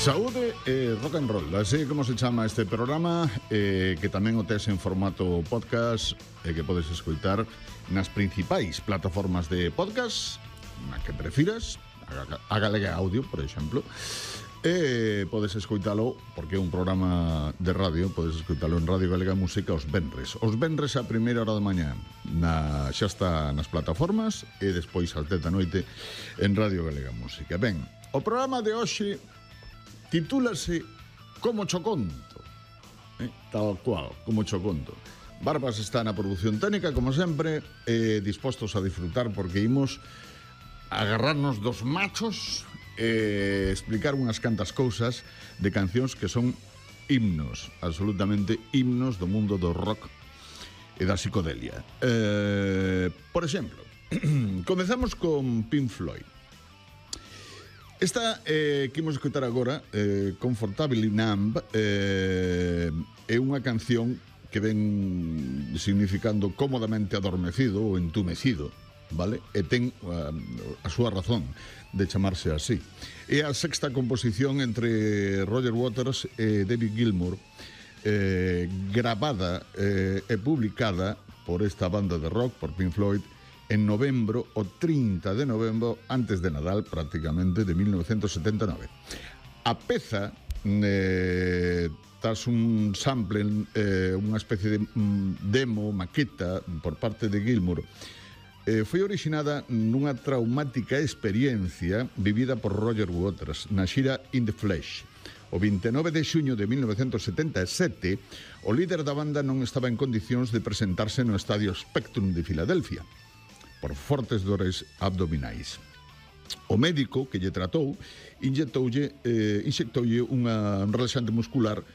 Saúde e rock and roll, así como se chama este programa, que tamén o tes en formato podcast e que podes escoitar nas principais plataformas de podcast, na que prefiras, a Galega Audio, por exemplo, e podes escoitalo, porque é un programa de radio, podes escoitalo en Radio Galega Música os venres a primeira hora da mañá, xa está nas plataformas, e despois ás 10 da noite en Radio Galega Música. Ben, o programa de hoxe titúlase Como cho conto, tal cual, como cho conto. Barbas está na produción técnica, como sempre, dispostos a disfrutar, porque imos agarrarnos dos machos e explicar unhas cantas cousas de cancións que son himnos, absolutamente himnos do mundo do rock e da psicodelia. Por exemplo, comezamos con Pink Floyd. Esta que imos escutar agora, Comfortably Numb, é unha canción que ven significando cómodamente adormecido ou entumecido, vale? E ten a súa razón de chamarse así. É a sexta composición entre Roger Waters e David Gilmour, grabada e publicada por esta banda de rock, por Pink Floyd, en novembro, o 30 de novembro, antes de Nadal, prácticamente, de 1979. A peza, tras un sample, unha especie de demo, maqueta, por parte de Gilmour, foi originada nunha traumática experiencia vivida por Roger Waters na xira In the Flesh. O 29 de xuño de 1977, o líder da banda non estaba en condicións de presentarse no Estadio Spectrum de Filadelfia por fortes dores abdominais. O médico que lle tratou inxectoulle unha relaxante muscular